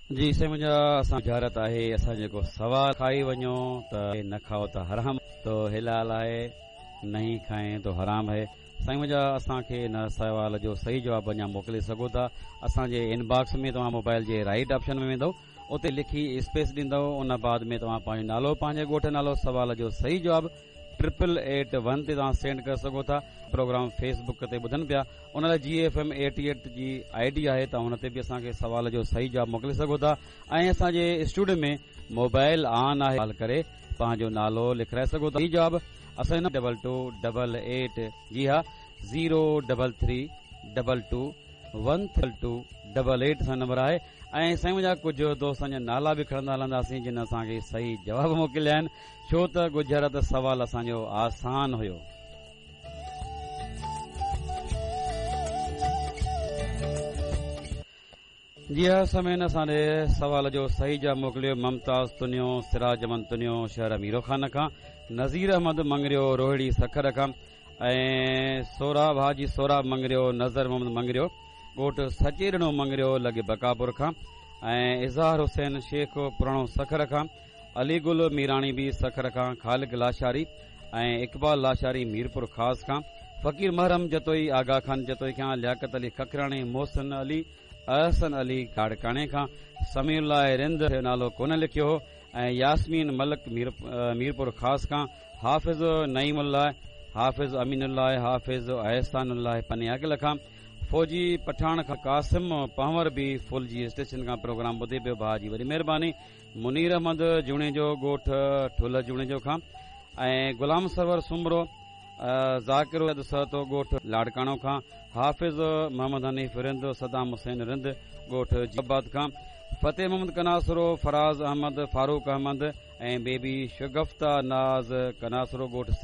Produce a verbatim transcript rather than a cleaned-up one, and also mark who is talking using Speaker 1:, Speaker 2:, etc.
Speaker 1: جي سائين منهنجا، اسان ڳجهارت آهي، اسان جيڪو سوال کائي وڃو ته نه کائو ته حرام تو حلال آهي، نہیں کائين تو حرام هي. سائين منهنجا، اسان کي ان سوال جو صحيح جواب اڃا موڪلي سگهو ٿا اسان جي انباڪس ۾. توهان موبائل جي رائٽ آپشن ۾ ويندو، اتي لکي اسپيس ڏيندو، ان بعد ۾ توهان پنهنجو نالو، پنهنجي ڳوٺ نالو، سوال جو صحيح جواب ٽرپل ايٽ ون تي توهان سينڊ ڪري سگهو ٿا. پروگرام فيسبڪ تي ٻڌن پيا، ان لاءِ جي ايف ايم ايٽي ايٽ جي I D آهي، توهان هن تي به اسان کي سوال جو صحيح جواب موڪلي سگهو ٿا. ۽ اسان جي اسٽوڊيو ۾ موبائل آن آهي، ڪال ڪري پنهنجو نالو لکرائي سگهو ٿا. جواب اسان ڊبل ٽو ڊبل ايٽ، جي ها، zero double three double two one two double eight سان نمبر آهي. ۽ سائين منهنجا، ڪجهه دوستن جا نالا به کڻندا هلنداسين جن اسان کي صحيح جواب موڪليا آهن، ڇو ته ڳجهارت سوال اسان جو آسان هيو. جي ها سامعين، اسان ڏي سوال جو صحيح جواب موڪليو ممتاز تنيو، سراج احمد تنيو شهر ميرو خان کان، نذير احمد مڱريو روهڙي سکر کان، ۽ سوراب حاجي سوراب مڱريو، نظر محمد مڱريو ڳوٺ سچيڏنو مڱريو لڳي بڪاپور کان، ۽ اظهار حسين شيخ پراڻو سکر کان، علي گل ميراڻي به سکر کان، خالق لاشاري ۽ اقبال لاشاري ميرپور خاص کان، فقير محرم جتوئي آغا خان جتوئي کان، لياقت علي ککراڻي، محسن علي، احسن علي لاڙڪاڻي کان، سميع الله رند نالو ڪونه لکيو هو، ۽ ياسمين ملڪ مير ميرپور خاص کان، حافظ نعيم الله، حافظ امين الله، حافظ احسان الله پنياگل کان، فوجي پٺاڻ کان، قاسم پنهور به ڦلجي اسٽيشن کان پروگرام ٻڌي پيو، ڀاءُ جي وڏي مهرباني، منير احمد جوڻيجو ڳوٺ ٺل جوڻيجو کان، ۽ غلام سرور سومرو، ذاڪر سهتو ڳوٺ لاڙڪاڻو کان، حافظ محمد حنيف رند، صدام حسين رند ڳوٺ آباد کان، فتح محمد ڪناسرو، فراز احمد، فاروق احمد ۽ بيبي شگفتا ناز ڪناسرو ڳوٺ